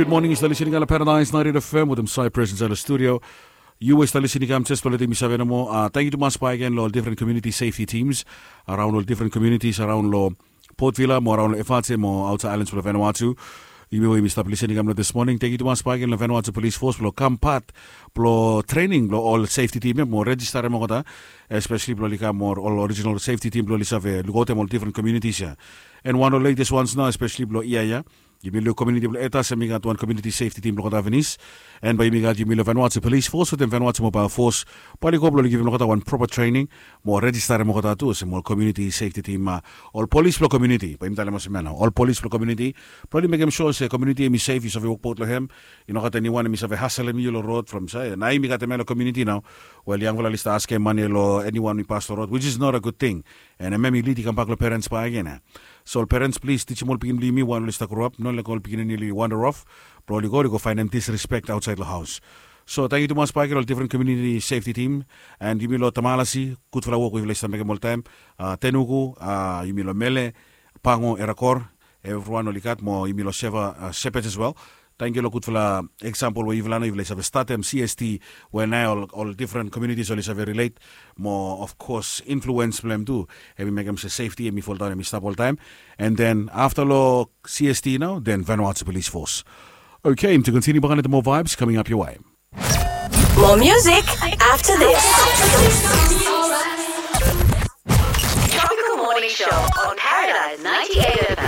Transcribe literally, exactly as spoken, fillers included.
Gud moning, yu stap lisin i kam long Paradise ninety-eight F M wetem Cypress insait long studio. Yu we stap lisin i kam, jes blong letem mi save nomo, tangkiu tumas bakegen long ol different community safety teams around ol different communities around long Port Vila mo around long F R C mo outside islands blong Vanuatu. Yumi we yumi stap lisin i kam long this morning, tangkiu tumas bakegen long Vanuatu Police Force blong kam pat blong training blong ol safety team ya mo registerem olgeta, especially blong oli kam mo ol original safety team blong oli save lukaotem ol different communities ya. And wan long latest ones nao, especially blong yia ya, yumi luk community blong Etas hem i gat wan community safety team blong olgeta finis. And bae yumi gat yumi long Vanuatu Police Force wetem Vanuatu Mobile Force bae oli go blong oli givim olgeta wan proper training mo registerem olgeta tu olsem ol community safety team, ol polis blong community, bae yumi talem olsem ya nao, ol polis blong community, blong oli mekem sua se community hem i safe, yu save wokbaot long hem. I no gat eniwan hem i save haselem yu long rod from saed, nao yumi gat hem ya long community nao. Wel, yangfala oli stap askem mane long eniwan we i pas long rod, which is not a good thing. And hem hem i lid i kambak long perens bakegen ya. So ol perens, plis tijim ol pikinini blong yumi wael oli stap groap, no laetem ol pikinini oli wander off blong oli go oli go faenem disrespect aotsaed long haos. So tangkiu tumas bakegen long ol different community safety team. And yumi long Tamalasi, gudfala wok we yufala i stap mekem oltaem. Tenuku, yumi long Mele, Pango, Erakor, evriwan oli gat mo yumi long Seva, Sepet as well. Tangkiu long gudfala eksampol we yufala nao yufala i save statem C S T we nao ol different communities oli save relate mo of course influens blong hem tu, hem i mekem se safety hem i foldaon, hem i stap oltaem. And then afta long C S T nao, then Vanuatu Police Force. Okay, to continue bakegen wetem moa vibes coming up your way. More music after this. Tropical Morning Show on Paradise ninety-eight F M.